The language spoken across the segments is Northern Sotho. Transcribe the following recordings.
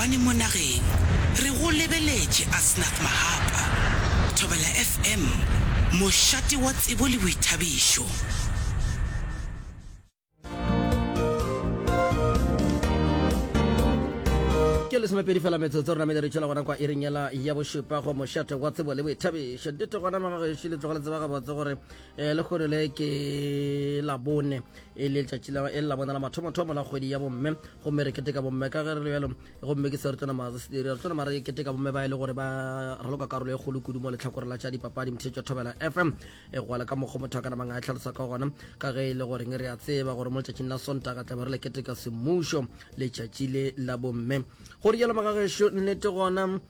Difofane mo nageng. Re go lebeletše Asnath Mahapa. Thobela FM, mošate wa tsebo le boithabišo. Ke lesomepedi fela metsotso re namele re tšwela gona kwa iring yela ya bošupa go mošate wa tsebo le boithabišo. Nnete gona magagešo le tloga le tseba gabotse gore um lehono le ke labone e le letšatši la e le labone la mathomothomo la kgwedi ya bomme gomme re keteka bomme ka ge re le bjalo gomme ke se re tlo nama re tlo nama re keteka bomme ba e le gore ba raloka karolo e kgolo kudu mo letlhakoreng la tša dipapadi mothetšo thobela fm e gwala ka mokgwa motho a ka namang a e tlhalosa ka gona ka ge e le goreng re a tseba gore mo letšatšing la sontaga tlabe re le keteka semmušo letšatši le la bomme go rialo magagešo nnete gona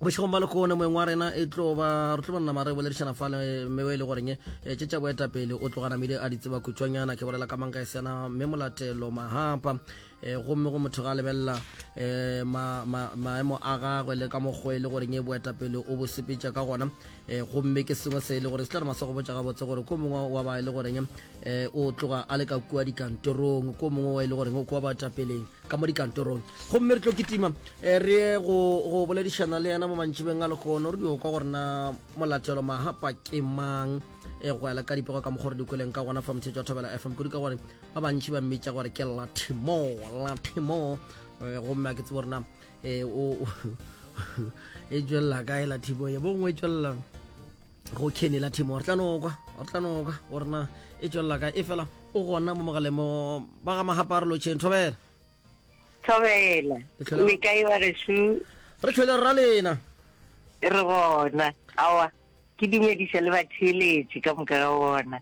bošegong ba lekgone moeng wa rena e tlo ba re tlo ba nama re boledišana fa le mme e le goreng eh, tše tša boetapele o tloga namile a di tseba kutšwanyana ke bolela ka manka e sena mme molatelo mahapa eh, gomme go motho ga lebelela eh, maemo a gagwe le ka mokgwa e le goreng e boetapele o bo sepetša ka gona gomme ke sengwe se e le gore se tla re masa go botša gabotse gore ko mongwe wa ba e le goreng o tloga a le ka kua dikantorong ko mongwe wa e le goreng o kua baetapeleng ka mo dikantorong gomme re tlo kitima eh, re ye go go boledišana le yena mo mantšibeng a lekgono re dio kwa gore na molatelo mahapa ke mang e go ela ka dipego ka mokgwa re di kweleng ka gona fa motshetso wa thobela fm kudu ka gore ba bantši ba mmitša gore ke latimo latimo eh, gomme a ke tsebo gore na eh, o e tswelela kae latimo ye bongwe e tswelela go kenny la thimo re tla no kwa re tla no kwa gore na e tswelela kae e fela o gona mo mogaleng mo ba ga magapa a re lotšheng thobela thobela le kae wa gešo re tlhole rra lena re gona awa ke dumediša le batheeletši ka moka ga bona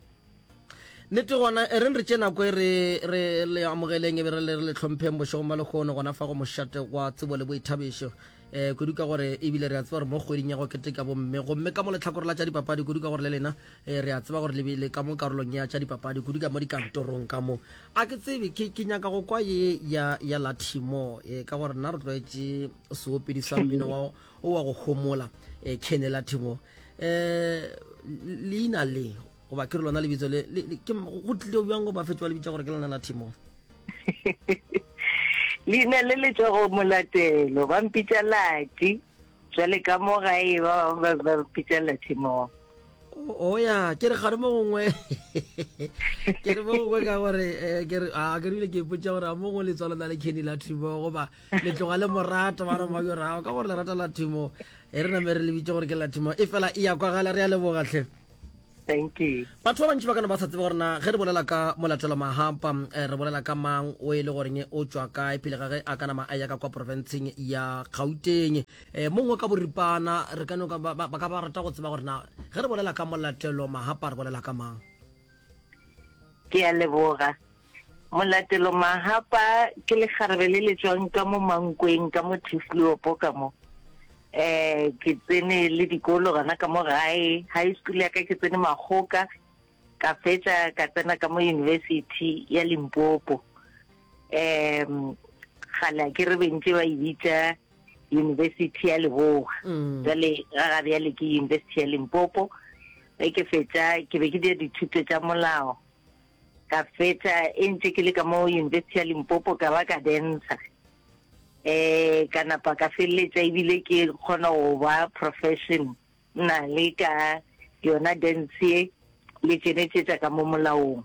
nnete gona e reng re tše nako e re re le amogeleng e be re le re le tlhompheng bošegong ba lekgono gona fa go mošate wa tsebo le boithabišo um kudu ka gore ebile re a tseba gore mo kgweding ya go keteka bomme gomme ka mo letlhakore la tša dipapadi kudu ka gore le lena um re a tseba gore le ka mo karolong ya tša dipapadi kudu ka mo dikantorong ka mo a ke tsebe ke ke nyaka go kwa ye ya ya lathimo e ka gore nna re tlwaetše seopedi sa mmino wa o wa go homola um kene lathimo um leina le goba ke re lona lebitso le ke go tlile bjang go ba fetša ba le bitša gore ke lona lathimo Leina le le tšwa go Molatelo, ba mpitša Lati, bjale ka mo gae ba bangwe ba mpitša Latimore. O ya, ke re gare mo gongwe ke re mo gongwe ka gore eh, ke re a ke rile ke ipotša gore a mo gongwe letswalo na le Kenny Latimore goba le tloga le morata ba re ba yo rago ka gore le rata Latimore e re name re le bitše gore ke Latimore e fela e ya kwagala re a leboga hle. Thank you. Batho ba bantši ba ka no ba sa tsebe gore na ge re bolela ka Molatelo Mahapa eh, re bolela ka mang o e le goreng o tšwa kae pele ga ge a ka nama a ya ka kwa profenseng ya Gauteng. Eh, mongwe ka boripana re ka no ka ba, ba ka ba rata go tseba gore na ge re bolela ka Molatelo Mahapa re bolela ka mang. Ke a leboga. Molatelo Mahapa ke lekgarebe le le tšwang ka mo Mankweng ka mo Turfloop ka mo. Eh ke tsene le dikolo gona ka mo gae, high school ya ka ke tsene Makgoka, ka fetša ka tsena ka mo University ya Limpopo. Um kgale a ke re be ntše ba e bitša University ya Leboa. Mm. Jwale ga ga bjale ke University ya Limpopo. Ge ke fetša ke be ke dira dithuto tša molao. Ka fetša e ntše ke le ka mo University ya Limpopo ka ba ka dancer. Eh ka napa ka feleletša ebile ke kgona go ba profession na le ka yona dance ye le tšenetšetša ka mo molaong.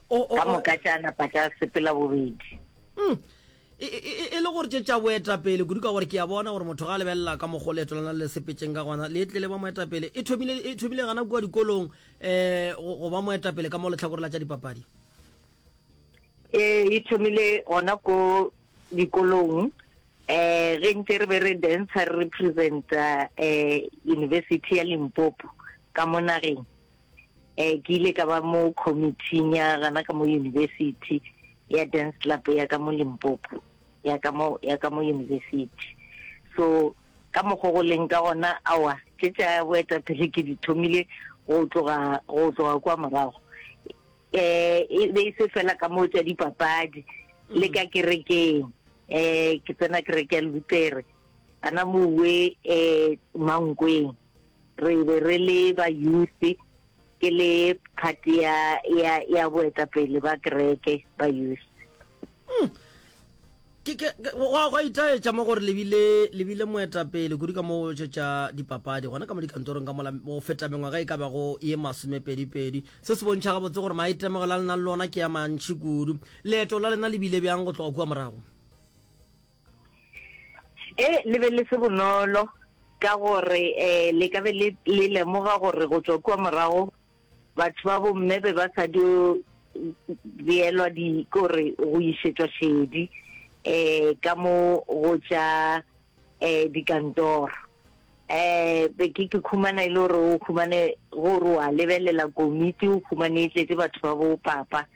Ka moka tša napa tša sepela bobedi. Mm. E, e, e, e le gore tše tša boetapele kudu ka gore ke a bona gore motho ga a lebelela ka mokgwa leeto lona le sepetseng ka gona le tle le ba moetapele e thomile e thomile gana kua dikolong um go ba moetapele ka mo letlhakore la tša dipapadi ee e thomile gona ko dikolong um ge ntse re be re dancer re representa um university ya limpopo ka mo nageng um ke ile ka ba mo committee ya gana ka mo university ya dance club ya ka mo Limpopo ya ka mo ya ka mo university so ka mokgwa go leng ka gona awa tše tša boetapele ke di thomile go tloga go tloga kwa morago eh e be e se fela ka mo tša dipapadi le ka kerekeng eh ke tsena kereke ya Lutere ana mowe eh Mankweng Re be re le ba youth, ke le part ya, ya, ya boetapele ba kereke ba youth. Mm. Ke, ke, ke, go a, go a itaetša mo gore le bile, le bile moetapele kudu ka mo go tša dipapadi, gona ka mo dikantorong ka mola, go feta mengwaga e ka bago ye masomepedipedi. Se se bontšha gabotse gore maitemogelo a lena le lona ke a mantši kudu. Leeto la lena le bile bjang go tloga kua morago? E, le be le se bonolo, ka gore um le ka be le, le lemoga gore go tšwa kua morago Batho ba bomme be ba sa dio beelwa di kore go išetšwa šedi eh ka mo go tša eh dikantoro. Eh be ke ke khumana e le gore o khumane gore wa lebelela komiti o khumane e tletše batho ba bo papa.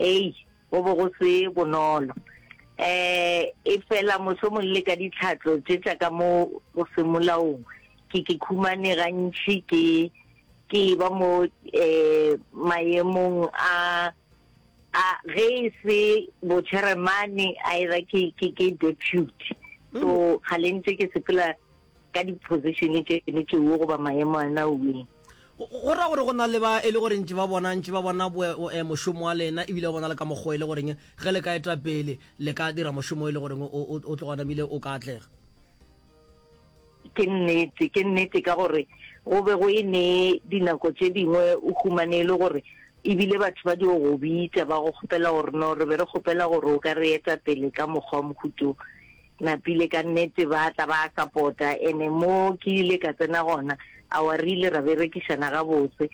Ei go be go se bonolo. Eh e fela mohlomong le ka ditlhatlo tše tša ka mo go semolaong ke ke khumane gantši ke Ke ba mo eh, maemong a a ge e se bochairmane either ke ke ke deputy. So ga le ntse ke sepela ka di-position tše ne tšeo goba maemo a na ueng. Go ra gore go na le ba e le gore ntše ba bona ntše ba bona eh, mošomo wa lena ebile ba bona le ka mokgwa e le goreng ge le ka eta pele le ka dira mošomo e le goreng o o tloga namile o ka atlega. Ke nnete, ke nnete ka gore go be go e ne dinako tše dingwe o humane e le gore ebile batho ba dio go bitša ba go kgopela gore no re be re kgopela gore o ka re eta pele ka mokgwa wa mohuta o. Napile ka nnete ba tla ba sapota ene mo ke ile ka tsena gona awa re ile ra berekišana gabotse.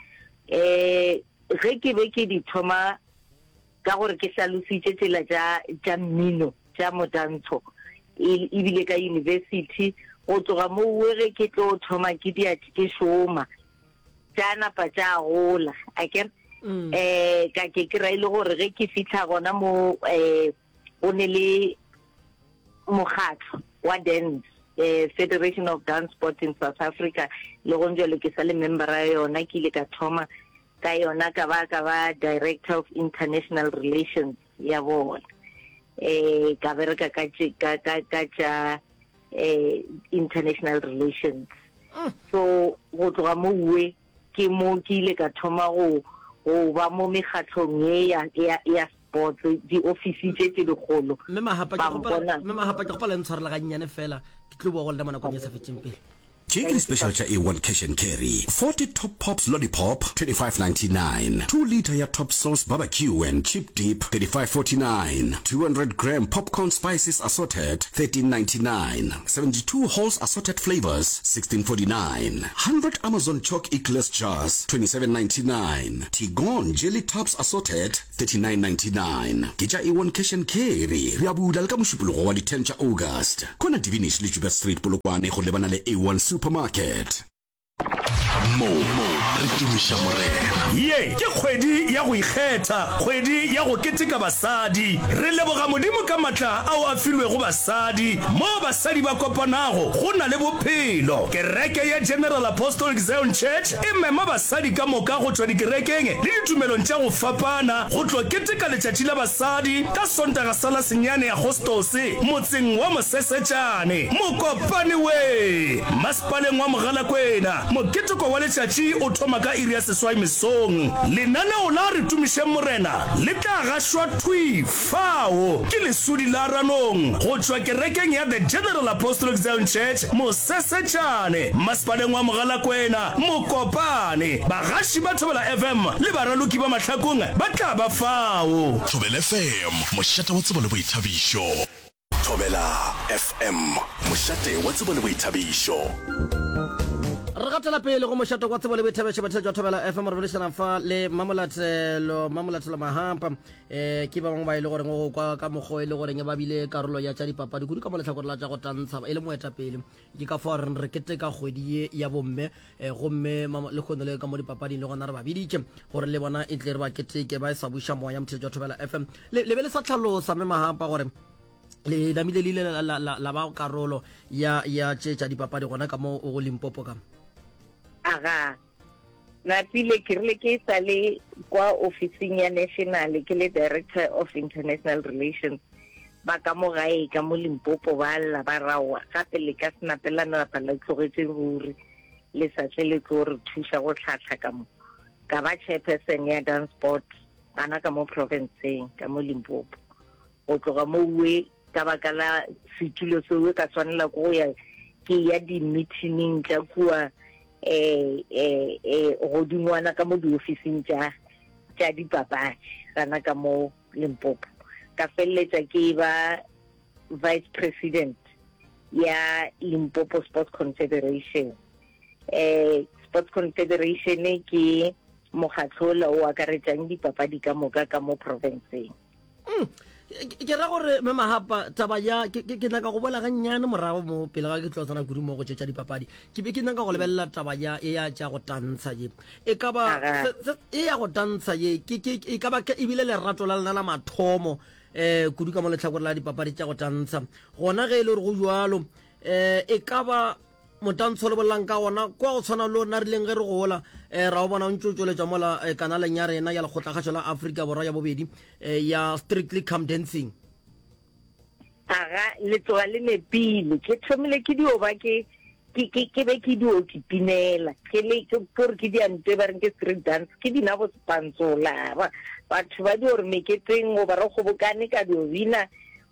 Um ge ke be ke di thoma Ka gore ke hlalositše tsela tša, tša mmino, tša motantsho, e, ebile ka yunibesithi, go tloga mouwe ge ke tlo thoma ke dia, ke šoma, tša napa tša gola, akere? Um ka ke kry-a e le gore ge ke fihla gona mo, um go ne le mokgatlo wa dance, um Federation of Dance Sport in South Africa, le gong bjalo ke sa le membera ya yona, ke ile ka thoma Ka yona ka ba ka ba Director of International Relations ya bona. Eh ka bereka ka ka ka ka tša eh international relations. Mm. So go tloga mo uwe ke mo ke ile ka thoma go go ba mo mekgatlhong ye ya ya ya sports di office tše tše dikgolo. Mme Mahapa ke gopela Mme Mahapa ke gopela ntshwarela ga nnyane fela ke tlo boa go lena mo nakong e sa fetšeng pele. Tše ke di-special tša A1 Cash and Carry, 40 Top Pops Lollipop, 25.99, 2 litre ya Top Sauce Barbecue and Chip Dip, 35.49, 200 gram Popcorn Spices Assorted, 13.99, 72 Halls Assorted Flavours, 16.49, 100 Amazon Chalk Eclairs Jars, 27.99, Tigon Jelly Tubs Assorted, 39.99. Ke tša A1 Cash and Carry. Re a bula le ka Mošupologo wa di 10 tša August. Kona Divinish le Joubert Street, Polokwane go lebana le A1 Supermarket. Mo re tumiša Morena. Ye ke kgwedi ya go ikgetha, kgwedi ya go keteka basadi. Re leboga Modimo ka matla ao a filwego basadi. Moo basadi ba kopanago, go na le bophelo. Kereke ya General Apostolic Zion Church e mema basadi ka moka go tšwa dikerekeng le ditumelong tša go fapana go tlo keteka Letšatši la Basadi ka Sontaga sa la senyane Agostose motseng wa Mosesetšane, Mokopane we, masepaleng wa Mogalakwena. Moketeko wa letšatši o thoma ka iri ya seswai mesong. Lenaneo la Re Tumišeng Morena le tla gašwa thwi fao ke Lesodi la Ranong go tšwa kerekeng ya The General Apostolic Zion Church, Mosesetšane, masepaleng wa Mogalakwena, Mokopane. Bagaši ba Thobela FM le baraloki ba Mahlakong ba tla ba fao. Thobela FM, mošate wa tsebo le boithabišo. Thobela FM, mošate wa tsebo le boithabišo. Re gatela pele go mošate wa tsebo le boithabišo batheletši wa Thobela FM re boledišana fa le Mamolatelo Mamolatelo Mahampa eh ke ba bangwe ba e le goreng go kwa ka mokgwa e le goreng ba bile karolo ya tša dipapadi kudu ka mo lehlakore la tša go tantsha e le moetapele ke ka fao re re keteka kgwedi ye ya bomme eh, gomme lehono le ka mo dipapading le gona re ba biditše gore le bona e tle re ba keteke ba e sa buša moya motheletši wa Thobela FM le le be le sa tlhalosa mme Mahampa gore le namile le ile la, la, la, la ba karolo ya ya tše tša dipapadi gona ka mo go Limpopo ka Aga. Napile ke rile ke sa le kwa ofising ya national ke le director of international relations ba ka mo gae ka mo Limpopo ba lla ba raowa gape le ka se nape la napa la tlogetše ruri le sa tle le tlo re thuša go tlhahla ka mo ka ba chairperson ya dance sport gana ka mo provinceng ka mo Limpopo go tloga mo uwe. Ka baka la setulo seo ka swanela ke go ya ke ya di-meeting tša kua eh eh eh godingwana ka mo diofising tša tša dipapadi gana ka mo Limpopo. Ka feleletša ke ba vice president ya Limpopo Sports Confederation. Eh Sports Confederation ke mokgatlo ola o akaretšang dipapadi ka moka ka mo profenseng. Mm. Ke ra gore me Mahapa taba ya ke ke nyaka go bola gannyane morago mo pele ga ke tlo tsena kudu mo go tše tša dipapadi. Ke be ke nyaka go lebelela taba ya e ya tša go tantsha ye. E ka ba e ya go tantsha ye ke ke e ka ba ke ebile lerato la lena la mathomo eh kudu ka mo lehlakore la dipapadi tša go tantsha. Gona ge e le gore go jwalo eh e ka ba Motantsho le bolelang ka gona kwa go tshwana le rena rileng ge re gola um ra o bona o ntse o tšweletšwa mola eh, kanaleng ya rena ya lekgotlakgašo la Afrika Borwa ya bobedi eh, ya Strictly Come Dancing. Aga, le tloga le nepile. Ke thomile ke dio ba ke ke ke ke be ke dio kitimela. Ke le ke gore ke dia ntwe ba reng ke street dance, ke bina bo sepantsola. Ba batho ba dio re meketeng goba re kgobokane ka dio bina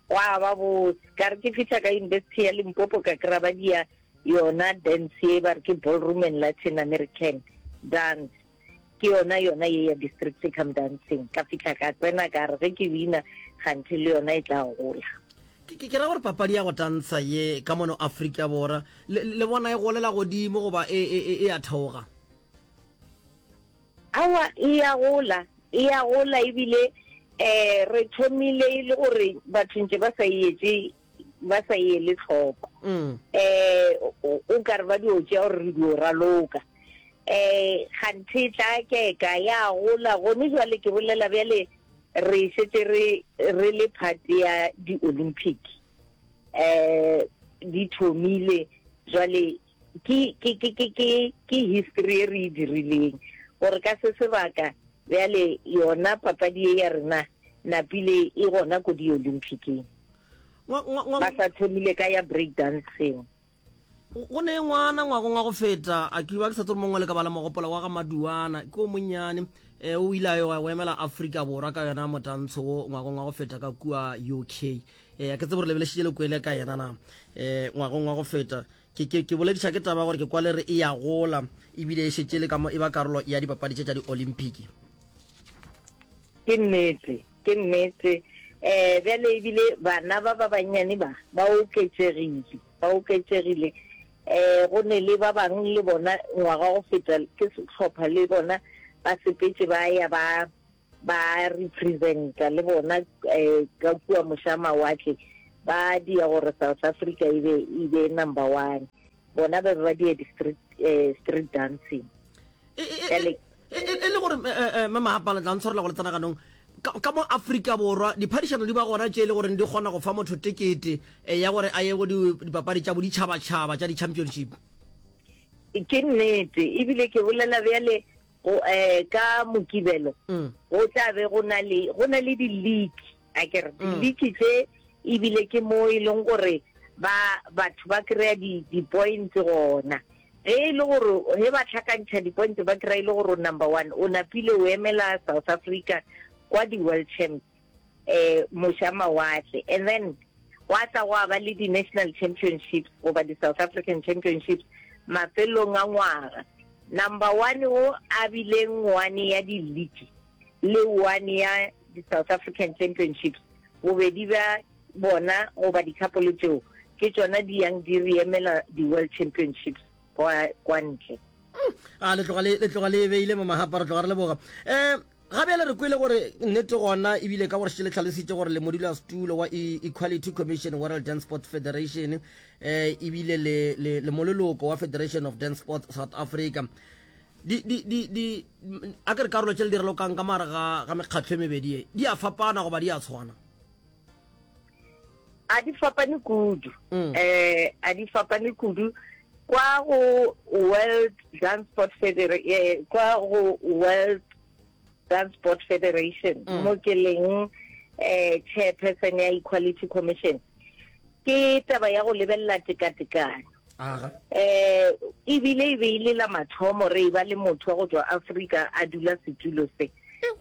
Gwa ba bose. Ka re ke fihla ka University ya Limpopo ka kry-a ba dia yona dance ye ba re ke ballroom and Latin American dance. Ke yona yona ye ya di-strictly come dancing. Ka fihla ka tsena ka re ge ke bina kganthe le yona e tla gola. Ke, ke, ke ra gore papadi ya go tantsha ye ka mono Afrika Borwa le, le bona e golela godimo goba e, e, e, e a theoga? Aowa, e a gola, e a gola ebile um re thomile e le gore batho ntše ba sa e etše, ba sa e ele tlhoko. Um o ka re ba dio tšea gore re dio raloka. Um kganthe e tla keka ya gola, gone jwale ke bolela bjale re šetše re re le part ya di-Olympic. Um di thomile jwale Ke, ke, ke, ke, ke, ke history e re e dirileng, gore ka se sebaka bjale yona papadi ye ya rena napile e gona ko di-Olymphicing. Ba sa thomile ka ya break dancing. Go ne ngwana ngwagong wa go feta, a ke ba ke sa tsebe mongwe le ka ba la mo gopola, wa ga Maduana, ke o monnyane, eh, o ile a yo go emela Afrika Borwa ka yona motantsho wo ngwagong wa go feta ka kua UK. Eh, a ke tsebe gore lebelešitše le kwele ka yena na, eh, ngwagong wa go feta. Ke, ke, ke bolediša ke taba gore ke kwa le re e ya gola ebile e šetše le ka mo e ba karolo ya dipapadi tše tša di-Olympic. Ke nnete, ke nnete. Um bjale ebile bana ba ba bannyane ba ba oketšegile, ba oketšegile. Um go ne le ba bang le bona ngwaga go feta ke sehlopha le bona ba sepetše ba ya ba ba representa le bona eh, ka kua moša mawatle ba dia gore South Africa e be e be number one bona ba be ba dia di street, eh, street dancing e, e, e, e, e le gore eh, eh, mama gapa le tla ntshwarela go le tsena ganong ka mo Afrika Borwa diphadišano di ba gona tše e le goreng di kgona go fa motho tekete ya gore a ye go dipapadi tša boditšhabatšhaba tša di-championship. Ke nnete ebile ke bolela bjale Go, eh, ka Mokibelo mm. go tla be go na le go na le di-league a ke re mm. di-league tše ebile ke mo e leng gore ba batho ba kry-a di-points gona ge e le gore ge ba tlhakantšha di-points ba kry-a e le gore number one o napile o emela South Africa kwa di-world champs eh moša mawatle and then gwa tla gwa ba le di-national championships goba di-South African championships mafelong a ngwaga. Number one o a bileng one ya di-league le one ya di-South African championships, bobedi bja bona goba di-couple tšeo ke tšona di yang di re emela di-world championships kwa, kwa ntle. A le tloga le, le tloga le e beile mo mahapa, re tloga re leboga. Um Ga bjale re kwele gore nnete gona ebile ka gore šetše le hlalositše gore le modulasetulo wa e Equality Commission World Dance Sports Federation eh ebile le le le moleloko wa Federation of Dance Sports South Africa. Di di di di a ke re karolo tše le di ralokang ka mare ga ga mekgatlo e mebedi ye di a fapana goba di a tshwana? A di fapane kudu. Mm. Eh a di fapane kudu kwa go World Dance Sport Federation eh, kwa go World Dance Sport Federation mm. mo ke leng eh chairperson ya Equality Commission ke taba ya go lebelela tekatekano eh ebile e be ile la mathomo re e ba le motho wa go tswa Afrika a dula setulo se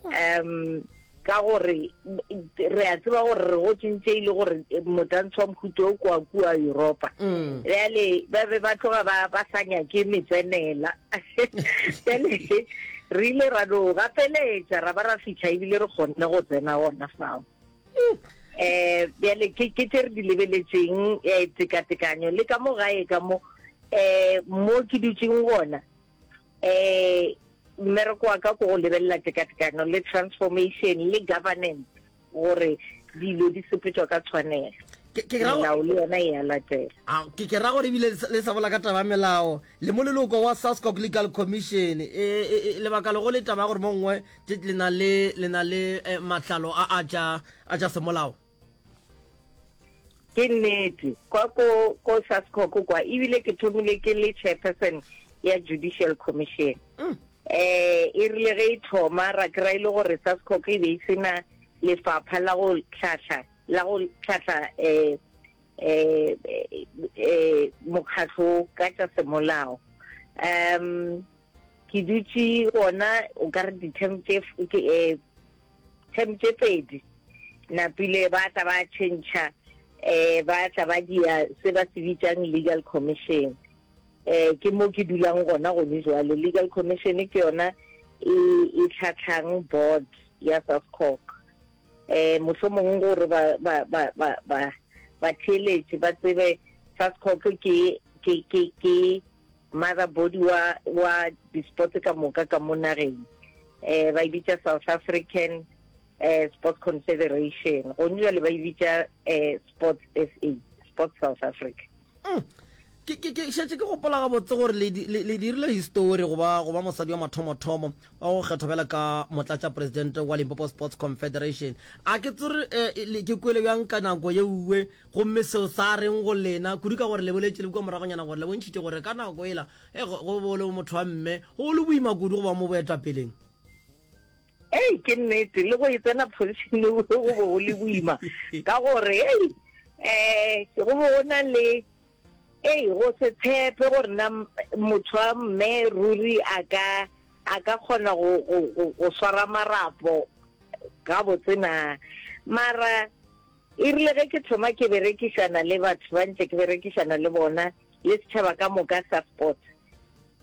um. Ka gore re a tseba gore re gotše ntše e le gore motantsho wa mohuta o kwa kua Yuropa. Bjale ba be ba tloga ba ba sa nyake metsenela. Bjale re ile ra no gapeletša ra ba ra fihla ebile re kgonne go tsena gona fao. Um bjale ke ke tše re di lebeletšeng um tekatekanyo le ka mo gae ka mo um mo ke dutšeng gona um mmereko wa ka ko go lebelela tekatekano le transformation le governance gore dilo di sepetšwa ka tshwanelo. Melao le yona e a latela. Ke ke ra gore ebile le sa bola ka taba ya melao le mo leloko wa SASCOC Legal Commission e, e, e, lebaka lego le taba ya gore mo nngwe le na le le na le eh, matlalo a a tša a tša semolao. Ke nnete, kwa ko, ko SASCOC kwa, ebile ke thomile ke le chairperson ya Judicial Commission. Mm. Eh, e rile ge e thoma ra kry-a e le gore SASCOC e be e se na lefapha la go hlahla, la go hlahla eh, eh, eh, mokgatlo ka tša semolao. Um, ke dutše gona o ka re di-term tše, ke, eh, term tše pedi napile ba tla ba tšhentšha um ba tla ba dia se ba se bitsang legal commission um ke mo ke dulang gona gone jwale. Legal commission ke yona e e tlhatlhang board ya SASCOC. Um mohlomongwe gore ba ba ba ba ba batheeletši ba tsebe SASCOC ke ke ke ke mother body wa wa di-sports ka moka ka mo nageng. Eh ba e bitša South African eh Sports Confederation. Gone jwale ba e bitša eh Sports SA, Sports South Africa. Mm. Ke ke ke šetše ke gopola gabotse gore le le le dirile histori go ba go ba mosadi wa mathomothomo wa go kgethwa bjalo ka motlatšapresidente wa Limpopo Sports Confederation. A ke tsore eh, le ke kwele bjang ka nako ye uwe gomme seo sa reng go lena kudu ka gore le boletše le kua moragonyana gore le bontšhitše gore ka nako ela e go go bo le motho wa mme go le boima kudu go ba mo boetapeleng. Ei, ke nnete, le go e tsena position go be go le boima ka gore ei eh go be go na le ei go se tshepe gore na motho wa mme ruri a ka a ka kgona go go go swara marapo gabotse na. Mara e rile ge ke thoma ke berekišana le batho ba ntše ke berekišana le bona le setšhaba ka moka sa sports,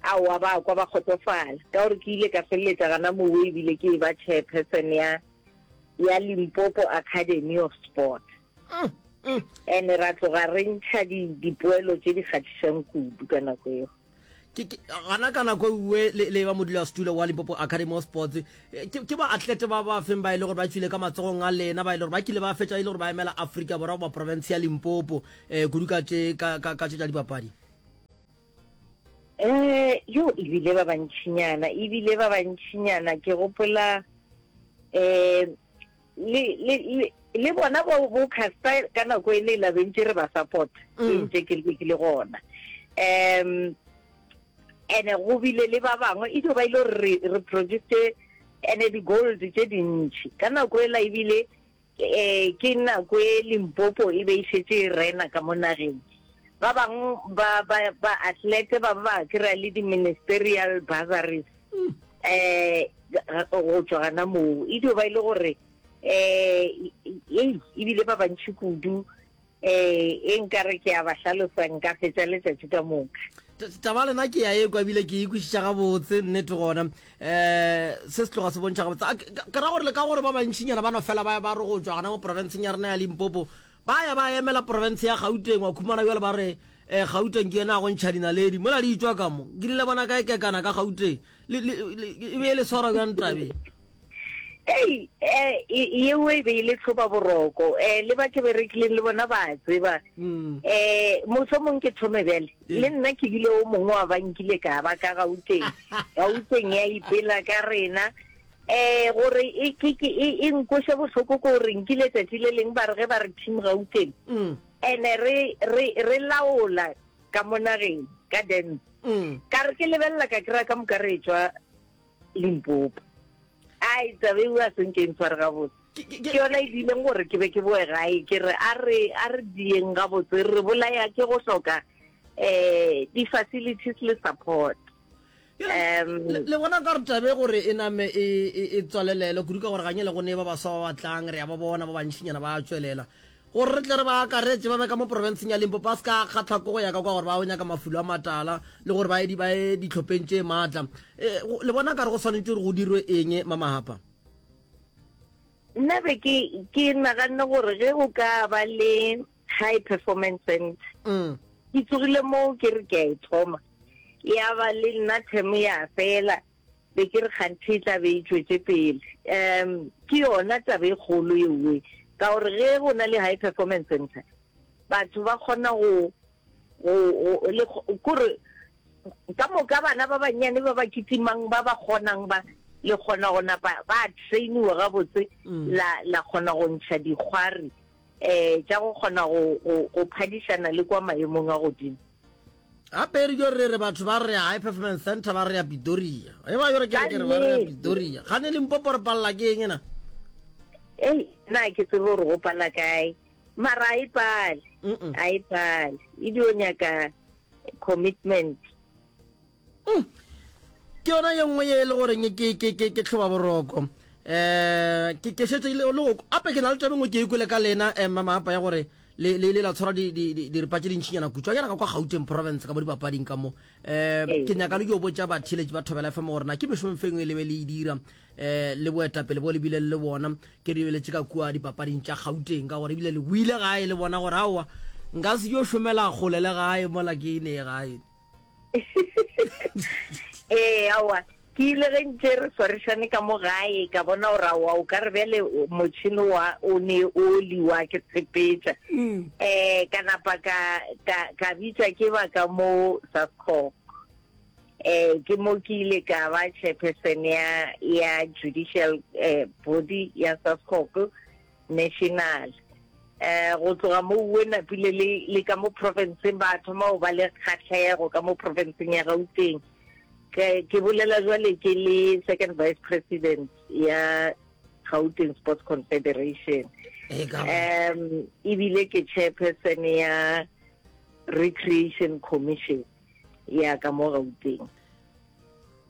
aowa ba kwa ba kgotsofala ka gore ke ile ka feleletša gana mowe ebile ke eba chairperson ya ya Limpopo Academy of Sport. Ene ra tloga re ntšha dipoelo tše di kgahlišang kudu ka nako eo. Ke, ke, gana ka nako ewe le, le ba modulasetulo wa Limpopo Academy of Sports, ke, ke baatlete ba ba feng ba e le gore ba tšwile ka matsogong a lena, ba e le gore ba kile ba fetša e le gore ba emela Afrika Borwa goba profense ya Limpopo, eh, kudu ka tše, ka, ka, ka tše tša dipapadi? Eh, yo ebile ba bantšinyana, ebile ba bantšinyana, ke gopola, eh, le, le, le, le bona bo, bo Caster ka nako e le la be ntše re ba support, ke mm. ntše ke ke le gona. Um, ene go bile le ba bangwe e dio ba ile gore re, re produced ene di-gold tše dintši ka nako ela ebile um ke nako e Limpopo e be e šetše e rena ka mo nageng. Ba bangwe ba ba ba athlete ba ba kry-a le di-ministerial bursaries um go tšwa gana moo. E dio ba e le gore um ebile ba bantši kudu Ee, e nkare ke a ba hlalosa nka fetša letšatši ka moka. Taba lena ke ya ekwa ebile ke e kwešiša gabotse, nnete gona. Um se se tloga se bontšha gabotse. A ke ra gore le ka gore ba bantšinyana ba no fela ba ba re go tšwa gona mo profenseng ya rena ya Limpopo, ba ya ba emela profense ya Gauteng, wa khumana bjale ba re um Gauteng ke yona ya go ntšha dinaledi, mola di tšwa ka mo. Nkile le bona kae kekana ka Gauteng? Le, le, le, e be e le swara bjang tabeng? Ei, eh, yeo e be e le tlhoba boroko. Eh, le ba ke berekileng le bona ba tseba. Mm. Eh, mohlomong ke thome bjale. Le nna ke bile o mongwe wa ba nkile ka ba ka Gauteng. Gauteng ya ipela ka rena. Eh, gore e ke ke e, e nkoše bohloko ko gore nkile tsatsi le leng ba re ge ba re team Gauteng. Mm. Ene re re re laola ka mo nageng ka dance. Mm. Ka re ke lebelela ka kry-a ka moka re tšwa Limpopo. Ai, taba eo a se nke e ntshware gabotse. Ke yona e diileng gore ke be ke boe gae ke re a re a re dieng gabotse re bolaya ke go hloka um di-facilities le support. Um, le bona ka re tabe gore e name e, e, e tswalelele kudu ka gore ganye le go ne ba baswa ba batlang re ya ba bona ba bantšinyana ba tswelela gore re tle re ba akaretše ba be ka mo porofenseng ya Limpopo ba se ka kgatlha ko go ya ka kwa gore ba o nyaka mafulo a matala le gore ba ye ba ye ditlhopheng tše maatla. E, le bona ka re go swanetše gore go dirwe eng Mamahapa? Nna be ke ke naganne gore ge go ka ba le high performance center mm. ke tsogile moo ke re ke a e thoma ya ba le nna term ya fela be ke re kganthe e tla be e tšwetše pele. Um ke yona taba e kgolo eoe, ka gore ge go na le high performance center batho ba kgona go go go le kore ka moka bana ba bannyane ba ba kitimang ba ba kgonang ba le kgona go napa ba trainiwa gabotse mm. la la kgona go ntšha dikgwari um tša go kgona go go go phadišana le kwa maemong a godimo. Gape re dio re re batho ba re ya High Performance Center ba re ya Pidoria. E ba yore ke re ke re ba re ya Pidoria. Gane Limpopo re palela ke eng na? Ei, nna ke tsebe gore go pala kae. Mara a e pale. A e pale. E dio nyaka commitment. Mm. Ke yona ye nngwe ye e le goreng ke ke ke ke tlhoba boroko. Eh ke ke šetše le le ape ke na le taba nngwe ke e kwele ka lena eh mama apa ya gore le le le la tshwara di di diripa tše dintšinyana kutswa yana ka kwa Gauteng province ka mo dipapading ka mo. Eh ke nyaka le yo botša batheeletši ba Thobela FM gore na ke mešomo feng e le be le e dira eh le boetapele bo le bile le bona ke re lebeletše ka kua dipapading tša Gauteng ka gore ebile le boile gae le bona gore aowa nka se yo šomela kgole le gae mola ke ne gae. Ee, aowa, ke ile ge ntše re swarišane ka mo gae, ka bona gore aowa, o ka re bjale motšhene wa o ne o liwa ke tshepetša. Um ka napa ka, ka, ka bitšwa ke ba ka mo Sascoc. Um ke mo ke ile ka ba chairperson ya, ya judicial eh, body ya Sascoc. National. Um go tloga mo uwe napile le, le ka mo profenseng ba thoma go ba le kgahlego ka mo profenseng ya Gauteng. Ke, ke bolela jwale ke le second vice president ya Gauteng Sports Confederation. Um ebile ke chairperson ya Recreation Commission ya ka mo Gauteng.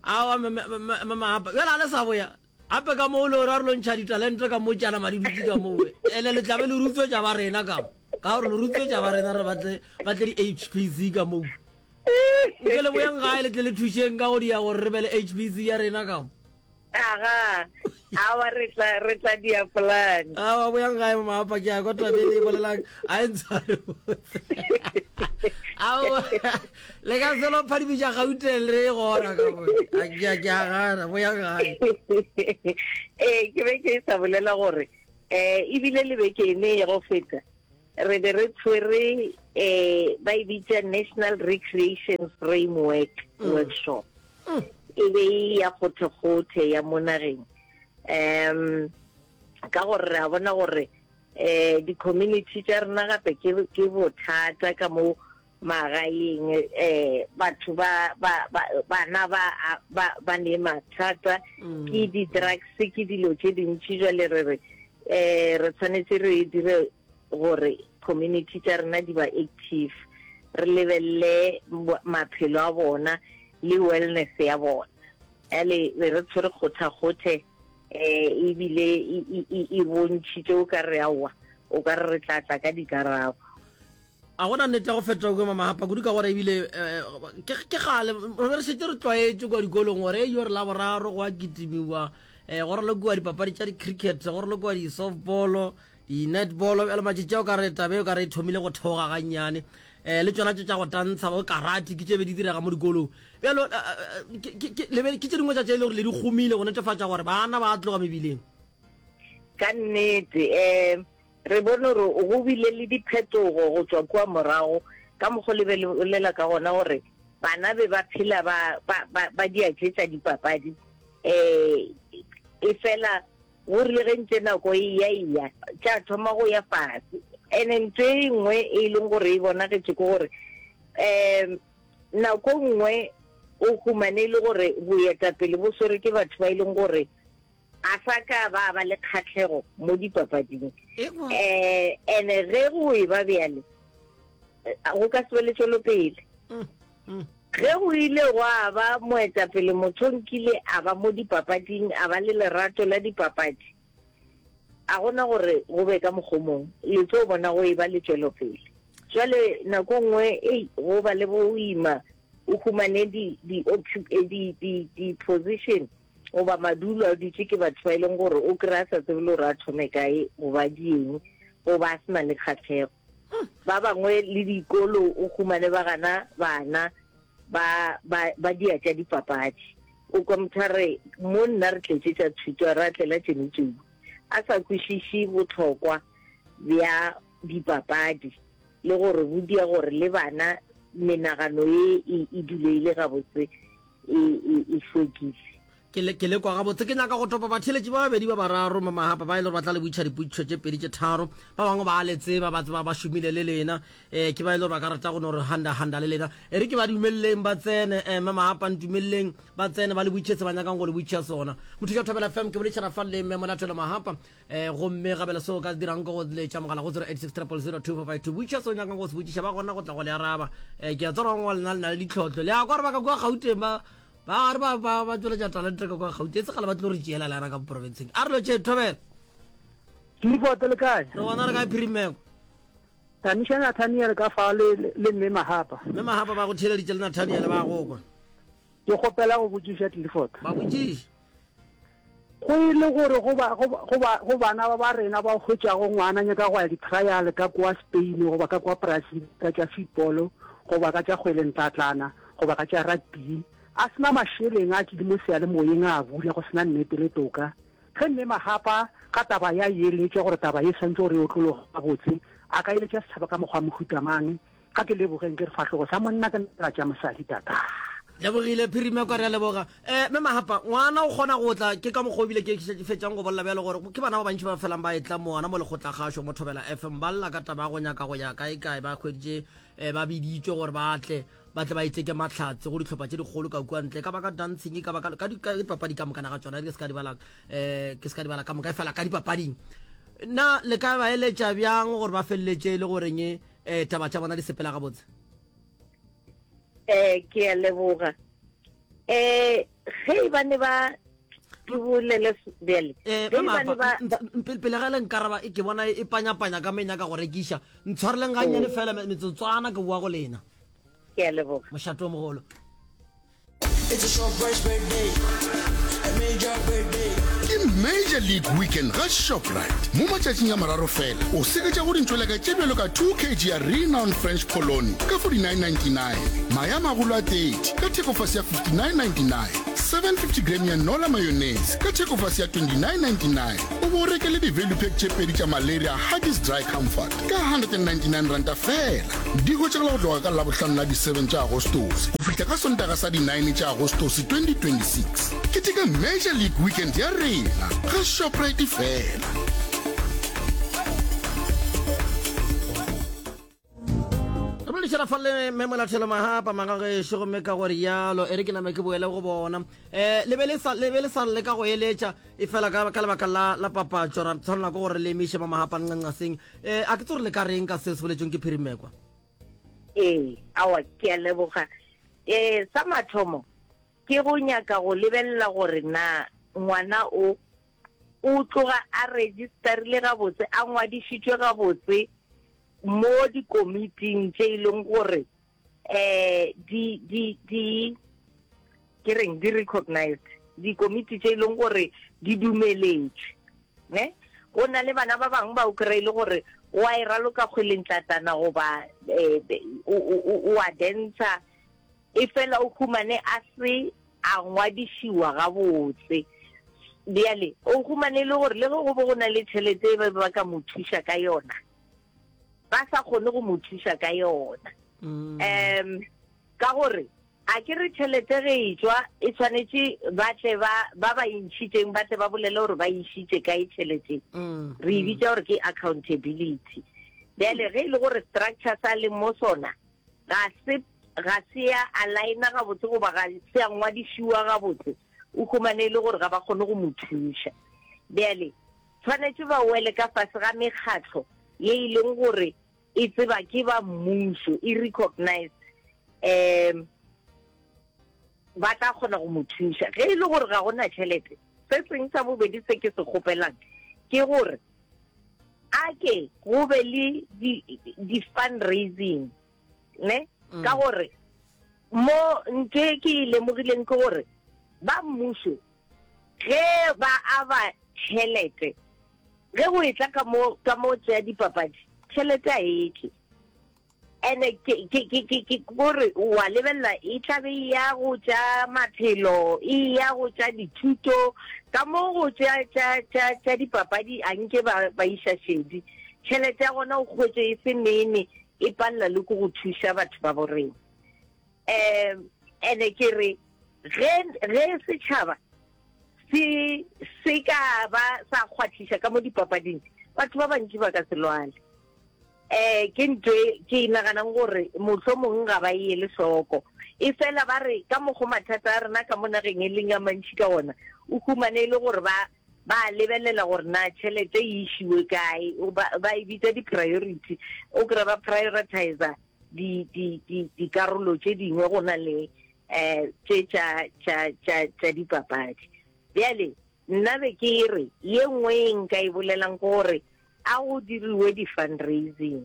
Aowa, mama, bjale a le sa boya Gape ka moo le gore a re lo ntšha ditalente ka mo tšana madi dutse ka moo ene le tlabe le rutswetša ba rena ka mo ka gore le rutswetša ba rena re batle ba tle di-HPC ka moo nke le boyang gae le tle le thušeng ka go dia gore re be le HPC ya rena ka mo aga awa re tla re tla dia plan awa boyang gae mama ke ya kwa tabe le bolelang a e ntshware awa Le ka se lo phadimiša Gauteng le e gona ka mo. A ke a ke a gana bo ya gae. Ee, ke be ke sa bolela gore eh ebile le beke ene ya go feta re be re tshwere eh ba e bitša National Recreation Framework mm. Workshop. Mm. E be e ya kgothe-kgothe ya mo nageng. Um ka gore re a bona gore eh di-community tša rena gape ke ke bothata ka mo Magaeng um batho ba, ba, ba, bana ba, ba, ba ne mathata mm. ke di-drugs ke dilo tše dintši jale re re um re tshwanetse re dire gore community tša rena di ba active re lebelele maphelo a bona le wellness ya bona ale be re tshwere kgothakgothe um ebile e, e, e bontšhitše o ka re aowa o ka re re tla tla ka dikarabo A gona nnete ya go feta kua Mamahapa kudu ka gore ebile eh, ke ke kgale re be re šetše re tlwaetše kua dikolong gore eyo re laboraro go a kitimiwa um go ralokiwa dipapadi tša di-cricket go ralokiwa di-softball di-netball bjale matšatši a o ka re tabe o ka re e thomile go theoga gannyane um le tšona tše tša go tantsha bo karate ke tše be di direga mo dikolong bjalo eh, ke- ke- ke le be- ke tše dingwe tša tše e le gore le di gomile go netefatša gore bana ba tloga mebileng Ka nnete um Re bone gore go bile le diphetogo go tšwa kua morago, ka mokgo le be le bolela ka gona gore bana be ba phela ba, ba, ba, ba dia tše tša dipapadi. Um efela go rile ge ntše nako e eya eya, tša thoma go ya fase. Ene ntho e nngwe e leng gore e bonagetše ke gore um nako nngwe o humane e le gore boetapele bo swere ke batho ba e leng gore A sa ka ba ba le kgahlego mo dipapading. Um ene ge go e ba bjale, go ka se be le tšwelopele. Mm, mm. Ge go ile gwa ba moetapele motho nkile a ba mo dipapading, a ba le lerato la dipapadi, a gona gore go be ka mokgwa o mongwe, le tlo bona go eba le tšwelopele. Jwale nako nngwe, ei, go ba le boima, o humane di, di, eh, di, di, di position goba madulo a dutše ke batho ba e leng gore o kry-a sa tsebe le gore a thome kae goba dieng goba a se na le kgahlego. Ba bangwe le dikolo o humane ba gana bana ba, ba, ba dia tša dipapadi. O kwa motho a re, mo nna re tletše tša thuto, a re a tlela tšeno tšeo. A sa kwešiše bohlokwa bja dipapadi le gore bo dia gore le bana menagano ye e, e dule e le gabotse e, e, e hlwekile. Ke le, ke le kwa gabotse. Ke nyaka go topa batheeletši ba babedi ba bararo mo Mahapa ba e le gore ba tla le botšiša dipotšišo tše pedi tše tharo. Ba bangwe ba a le tseba, ba tseba ba šomile le lena. Eh, ke ba e le gore ba ka rata go no re handa handa le lena. E re ke ba dumeleleng ba tsene, eh, Mme Mahapa ntumeleleng ba tsene ba le botšiše se ba nyakang go le botšiša sona. Mothuša Thobela FM ke boledišana fa le Mme Molatelo Mahapa. Eh, gomme gabele seo o ka se dirang ke go letša mogala go 086 000 2452. Botšiša se o nyakang go se botšiša, ba gona go tla go le araba. Eh, ke a tseba gore ba bangwe ba lena le na le ditlhohlo. Le a kwa gore ba ka kua Gauteng ba Ba gare ba ba ba tšweletša talente ka kwa Gauteng, e se kgale ba tlo re tšeela le yana ka porofenseng. A re lo tše thobela. Clifford le kae? Re gona re kae Phirimeko? Tamiša Nathaniel ka fa le le mme Mahapa. Mme Mahapa ba go theeleditše le Nathaniel ba go kwa. Ke kgopela go botšiša Clifford. Ba botšiše. Go e le gore go ba, go, go ba, go bana ba ba rena ba hwetšago ngwana nyaka go ya di-trial ka kwa Spain goba ka kwa Brazil ka tša football goba ka tša kgwele ntlatlana goba ka tša rugby, a se na mašeleng a tšile mo seyalemoyeng a bula go se na nnete le toka. Ge Mme Mahapa ka taba ya eletša gore taba ye swantše gore e otlologe gabotse, a ka eletša setšhaba ka mokgwa wa mohuta mang? Ga ke lebogeng ke re fahlogo sa monna ke nala tša mosadi tata. Lebogile Phirimekwa re a leboga. Eh Mme Mahapa, ngwana o kgona go tla ke ka mokgwa o bile ke ke fetšang go bolela bjalo gore ke bana ba bantši ba felang ba etla mo gona mo lekgotlakgašo mo Thobela FM ba lla ka taba ya go nyaka go ya kae kae ba hweditše eh, ba biditšwe gore ba tle ba tle ba iteke mahlatse go dihlopha tše dikgolo ka kua ntle ka ba ka dancing ka ba ka ka dipapadi ka mokana ga tšona ke se ka di bala eh ke se ka di bala ka moka e fela ka dipapading na le ka ba eletša bjang gore ba feleletše e le goreng eh taba tša bona di sepela gabotse? Eh ke a leboga. Eh ge e ba ne ba ke bolele bjale. Eh Ge e ba ne ba pele ga le nkaraba e ke bona e panyapanya ka menya ka go rekiša. Ntshwareleng gannyane oh. fela metsotswana ke boa go lena. Ke a leboga. Mošato o mogolo. It's a Shoprite birthday, a major birthday. Ke Major League Weekend ga Shoprite. Mo matšatšing a mararo fela, o seketša go dintšweleka tše bjalo ka 2 kg ya Renown French Polony ka 49.99, mae a magolo a 30 ka thekofase ya 59.99, 750 gram ya Nola mayonnaise ka thekofase ya 29.99, o bo o reke le di-value pack tše pedi tša Malaria Huggies Dry Comfort ka R199 feela. Di hwetšagala go tloga ka Labohlano la di 7 tša Agostose go fihla ka Sontaga sa di 9 tša Agostose 2026. Keteka Major League Weekend ya rena ga Shoprite feela. Re boledišana fa le Mme Molathelo Mahapa magagešo gomme ka gore yalo e re ke name ke boele go bona um le be le sa le be le sa leka go eletša e fela ka ka lebaka la la papatšo ra tshwanela ke gore le emiše ba Mahapa nqanqaseng um a ke tse gore le ka reng ka seo se boletsweng ke Phirimekwa. Ee, aowa ke a leboga. Um sa mathomo ke go nyaka go lebelela gore na ngwana o o tloga a registerile gabotse, a ngwadišitšwe gabotse mo dikomiting tše e leng gore um di di di ke reng di recognized, dikomiti tše e leng gore di dumeletšwe ne. Go na le bana ba bangwe ba o kry-e le gore o a e raloka kgwelentlatana goba um o a dancer e fela o humane a se a ngwadišiwa gabotse. Bjale o humane e le gore le ge go be go na le tšhelete e ba be ba ka mo thuša ka yona, ba sa kgone go mo thuša ka yona. Um ka gore a ke re tšhelete ge e tšwa e tshwanetše ba tle ba ba ba e ntšhitšeng ba tle ba bolele gore ba e išitše kae tšhelete. Re e bitša gore ke accountability. Bjale ge e le gore structure sa leng mo sona ga se ga se ya aligna gabotse goba ga se ya ngwadišiwa gabotse, o humane e le gore ga ba kgone go mo thuša. Bjale tshwanetše ba wele ka fase ga mekgatlo ye e leng gore e tseba ke ba mmušo, e recognized. Um. Ba tla kgona go mo thuša. Ge e le gore ga go na tšhelete, se seng sa bobedi se ke se kgopelang ke gore a ke go be le di-fundraising, ne? Mm. Ka gore mo ntho e ke e lemogileng ke gore ba mmušo ge ba aba tšhelete, ge go etla ka mo ka mo tša dipapadi, tšhelete a e tle. Ene ke, ke, ke, ke, ke gore wa lebelela e tla be e ya go tša maphelo, e ya go tša dithuto, ka mo go tša, tša, tša, tša dipapadi a nke ba, ba iša šedi. Tšhelete ya gona o hwetše e se nene, e palela le ke go thuša batho ba borena. Um, ene ke re, ge, ge setšhaba se, se ka ba sa kgwathiša ka mo dipapading, batho ba bantši ba ka se lwale. Eh, ke ntho e ke e naganang gore mohlomong ga ba e ele hloko. E fela ba re ka mokgo mathata a rena ka mo nageng e leng a mantši ka gona, o humane e le gore ba ba a lebelela gore na tšhelete e išiwe kae, ba, ba e bitsa di-priority, o kry-a ba prioritizer di, di, di, dikarolo tše dingwe go na le um tše tša, tša, tša, tša dipapadi. Bjale nna be ke re ye nngwe e nka e bolelang ke gore A go diriwe di-fundraising.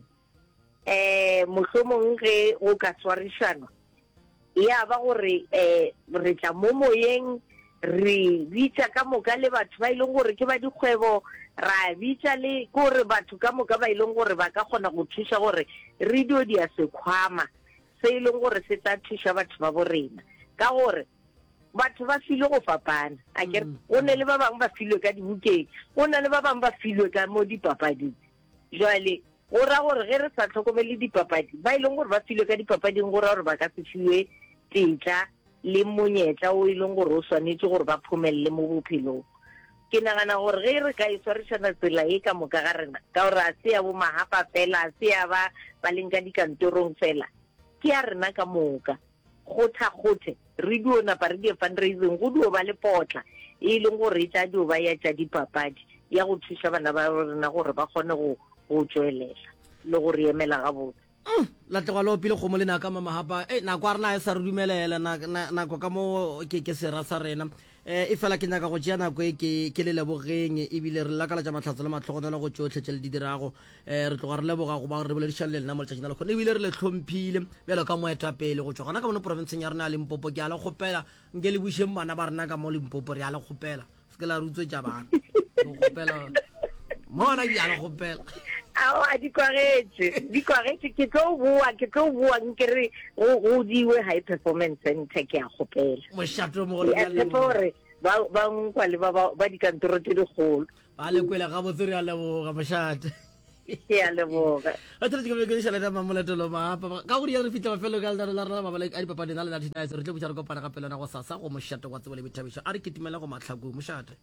Um mohlomong ge go ka swarišanwa, ya ba gore um re tla mo moyeng, re bitša ka moka le batho ba e leng gore ke ba dikgwebo, ra bitša le ke gore batho ka moka ba e leng gore ba ka kgona go thuša gore re dio dia sekhwama se e leng gore se tla thuša batho ba bo rena. Ka gore Batho ba filwe go fapana, a ke re? Mm. Go ne le ba bangwe ba filwe ka dibukeng, go na le ba bangwe ba filwe ka mo dipapading. Jwale go ra gore ge re sa tlhokomele dipapadi, ba e leng gore ba filwe ka dipapading go ra gore ba ka se fiwe tetla le monyetla o e leng gore o swanetše gore ba phomelele mo bophelong. Ke nagana gore ge re ka e swarišana tsela e ka moka ga rena, ka gore a se ya bo mahapa fela, a se ya ba ba leng ka dikantorong fela, ke ya rena ka moka. Kgothakgothe, re dio napa re die fundraising, go dio ba le potla e leng gore e tla dio ba ya tša dipapadi, ya go thuša bana ba rena gore ba kgone go, go tšwelela le go re emela gabotse. Mm, la tloga le opile kgomo le naka mamahapa. Ei, nako a rena e sa re dumelela, na, na, nako ka mo ke, ke sera sa rena. E, efela ke nyaka go tšea nako e ke, ke le lebogeng, ebile re lakalatša mahlatso le mahlogonolo go tšohle tše le di dirago. E, re tloga re leboga go ba re boledišane le lena mo letšatšing la lehono, ebile re le hlomphile bjalo ka moetapele go tšwa gona ka mono profenseng ya rena ya Limpopo. Ke a le kgopela, nke le bušeng bana ba rena ka mo Limpopo, re a le kgopela. Se ke la re utswetša bana. Re kgopela mona, ke a le kgopela. Aowa, di kwagetše, di kwagetše. Ke tlo boa, ke tlo boa nke re go go diwe high performance center, ke a kgopela. Mošate o mogolo Ke a tshepa gore ba ba nkwa le ba ba ba dikantoro tše dikgolo. Ba le kwele gabotse, re a leboga mošate. Ke a leboga. Re tshwanetse ke be ke šala ka mamoletelo maapa. Ka go rialo re fihla mafelong a lenaneo la rena la mabala a dipapadi na le Natty Nice. Re tlo buša re kopana gape le yona gosasa go mošate wa tsebo le boithabišo. A re kitimele go mahlakong mošate.